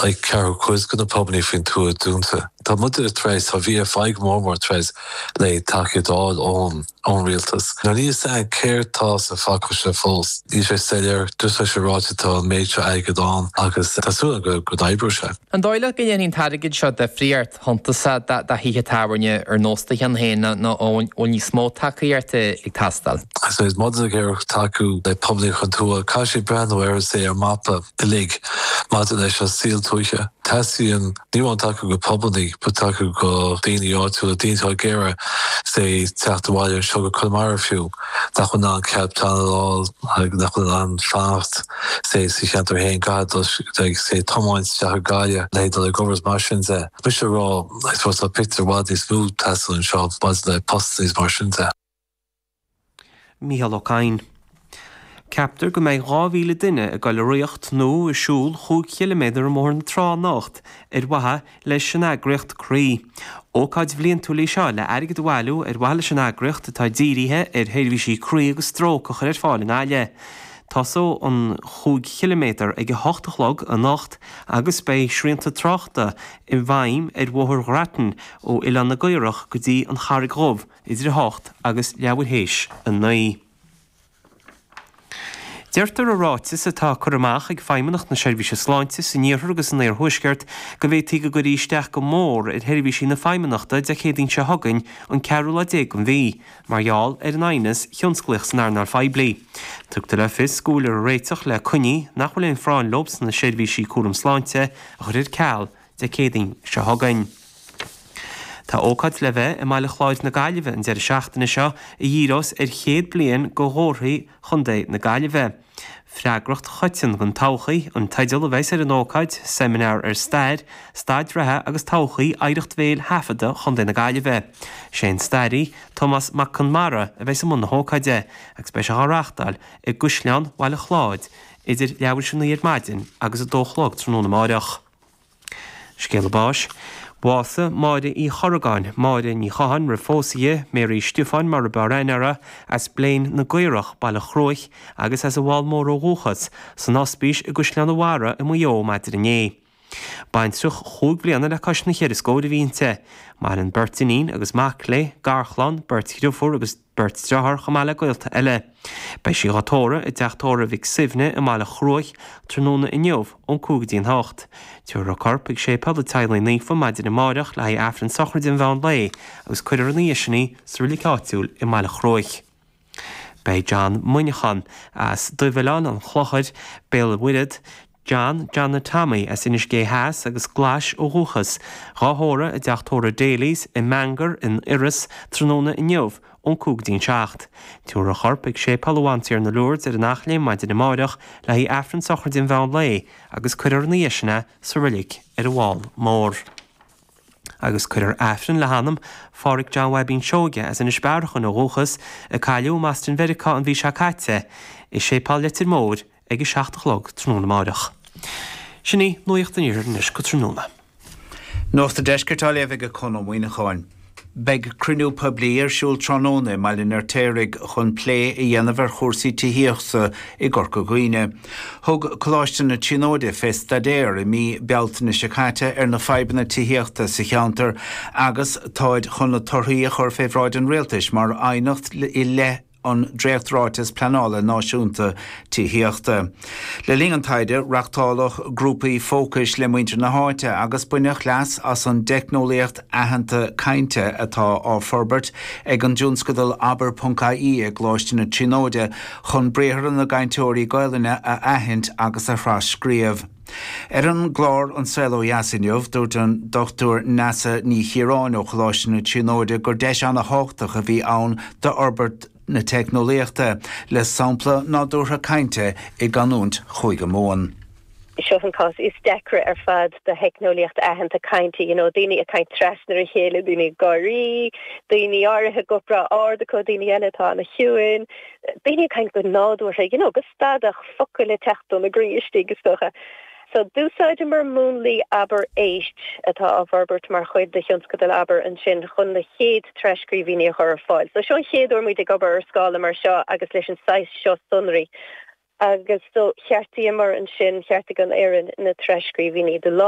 like ceathrú cuid de na pubannaí faoin tuath dúnta. Tá muid tar éis, tá VFI go mór mór tar éis le tacaíocht a fháil ón ón rialtas. Now níl fhios againn céard tá sa phacáiste fós. Níl sé soiléir, just tá sé ráite tá an méid seo airgid ann agus tá súil agam go n-oibreoidh sé. An dóigh leat go ndéanfaidh an t-airgead seo difríocht shuntasach do thithe tábhairne ar nós do cheann féin nó an bhfuil níos mó tacaíochta ag teastáil? I suppose maidir le tacú le pubannaí faoin tuath, caithfidh siad breathnú ar say ar mapa uilig maidir leis an saol tuaithe. Teastaíonn ní amháin tacú go pubannaí but tacú go daoine áitiúla, daoine atá ag iarraidh say teacht abhaile anseo go Conamara fiú, nach bhfuil in ann cead pleanála a fháil, nach bhfuil in ann fanacht say sa cheantar féin, caithfidh dul say tiomáint isteach go Gaillimh le dul ag obair is mar sin de. Mise a rá, I suppose tá pictiúr i bhfad níos mó ag teastáil anseo maidir le postanna is mar sin de. Mícheál Ó Cadhain. Ceaptar go mbeidh 2,000 duine ag dul ag rothaíocht nó ag siúl chúig chiliméadar i mBóthar na Trá anocht ar mhaithe leis an eagraíocht Croí. Ócáid bhliantúil í seo le airgead a bhailiú ar mhaithe leis an eagraíocht atá dírithe ar sheirbhísí croí agus stróc a chur ar fáil i nGaillimh. Tosóidh an chúig chiliméadar ag a hocht a chlog anocht agus beidh srianta tráchta i bhfeidhm ar Bhóthar Ghrattan ó Oileán na gCaorach go dtí an Charraig Dhubh idir 8 agus leathuair théis 9. Deirtear i ráiteas atá curtha amach ag Feidhmeannacht na Seirbhíse Sláinte san Iarthar agus san Iarthuaisceart go bhféadfaí go gcuirfí isteach go mór ar sheirbhísí na Feidhmeannachta Dé Céadaoin seo chugainn an ceathrú lá déag den mhí mar gheall ar an aighneas thionsclaíoch san earnáil phoiblí. Tugtar le fios go bhfuiltear ag réiteach le coinní nach bhfuil aon phráinn leo sna seirbhísí cúram sláinte a chur ar ceal Dé Céadaoin seo chugainn. Tá ócáid le bheith i mBaile Chláir na Gaillimhe an deireadh seachtaine seo a dhíreos ar chéad bliain de chomharthaí Chontae na Gaillimhe. Freagracht Choiteann don Todhchaí an teideal a bheas ar an ócáid, seimineár ar stair, staid reatha agus todhchaí oidhreacht bhéil thaifeadta Chontae na Gaillimhe. Sé an staraí, Tomás Mac Conmara a bheas i mbun na hócáide agus beidh sé á reáchtáil i gCaisleán Bhaile Chláir idir leathuair théis 9 ar maidin agus 2 a chlog tráthnóna amáireach. Scéala báis. Bhásaigh Máire Uí Chorragáin, Máire Ní Chatháin roimh phósadh di, Mary Stiofáin mar a b'fhearr aithne uirthi, as Blein na gCaorach, Baile Chruaich, agus as an bhFál Mór ó dhúchas, san ospís i gCaisleán an Bharraigh i Maigh Eo maidin inné. Baintreach chúig bliana le cois na cheithre scóir a bhí inti. Maireann beirt iníon agus mac léi, garchlann, beirt dhriofúr agus. beirt dearthár chomh maith le gaolta eile. Beidh sí dhá tórramh i dteach tórraimh Mhic Suibhne i mBaile Chruaich tráthnóna inniu ón 5 go dtí an 8. Tabharfar a corp chuig Séipéal an Teaghlaigh Naofa maidin amáireach le haghaidh Aifreann sochraide an mheán lae agus cuirfear ina dhiaidh sin í sa reilig áitiúil i mBaile Chruaich. Beidh John Muineachán as Duibhoileán an Chlochair, Béal an Mhuirthead, John Johnny Tommy as Inis Gé Theas agus Glais ó dhúchas, dhá thórramh i dteach tórraimh Daly's i mBangor in Iorras tráthnóna inniu ón 5 go dtí an 7. Tabharfar a chorp chuig Séipéal an Bhantiarna Lourdes ar an Eachléim maidin amáireach le haghaidh Aifreann sochraide an mheán lae agus cuirfear ina dhiaidh sin é sa reilig ar an bhFál Mór. Agus cuirfear Aifreann le hanam Phádhraic John Bhaibín Seoige as Inis Bearachain ó dhúchas, a cailleadh i mBoston Mheiriceá an mhí seo caite, i Séipéal Leitir Móir ag a 7 a chlog tráthnóna amáireach. Sin í Nuacht an Iarthair anois go tráthnóna. Nuacht an Deiscirt á léamh ag Conn Ó Muíneacháin. Beidh cruinniú poiblí ar siúl tráthnóna i mBaile an Fheirtéaraigh chun plé a dhéanamh ar chúrsaí tithíochta i gCorca Dhuibhne. Thug Coláiste na Tríonóide fé staidéar i mí Bealtaine seo caite ar na fadhbanna tithíochta sa cheantar agus táid chun na torthaí a chur fé bhráid an Rialtais mar aighneacht i leith an Dréacht-Ráiteas Pleanála Náisiúnta Tithíochta. Le linn an taighde, reachtáladh grúpaí fócais le muintir na háite agus baineadh leas as an dteicneolaíocht aitheanta cainte atá á forbairt ag an dtionscadal Abair.ie i gColáiste na Tríonóide chun briathra na gcainteoirí Gaelainne a aithint agus a thras-scríobh. Ar an gclár An Saol Ó Dheas inniu, dúirt an Dr Neasa Ní Chiaráin ó Choláiste na Tríonóide gur deis ana-thábhachtach a bhí ann d'fhorbairt na teicneolaíochta le sampla nádúrtha cainte i gcanúint Chúige Mumhan. Seo an cás is deacra ar fad do theicneolaíocht aitheanta cainte, you know, daoine ag caint trasna ar a chéile, daoine ag gáirí, daoine áirithe guth breá ard acu, daoine eile atá ana-chiúin, daoine ag caint go nádúrtha, you know, go stadach, focail ag teacht óna gcroí istigh, is dócha. So, d'úsáideamar múnlaí Abair Éist, atá á bhforbairt mar chuid de thionscadal Abair ansin, chun na chéad tras-scríbhinní a chur ar fáil. So, seo an chéad uair muid ag obair ar scála mar seo agus leis an saghas seo sonraí. Agus so, cheartaíomar ansin, cheartaigh an fhoireann na tras-scríbhinní de láimh.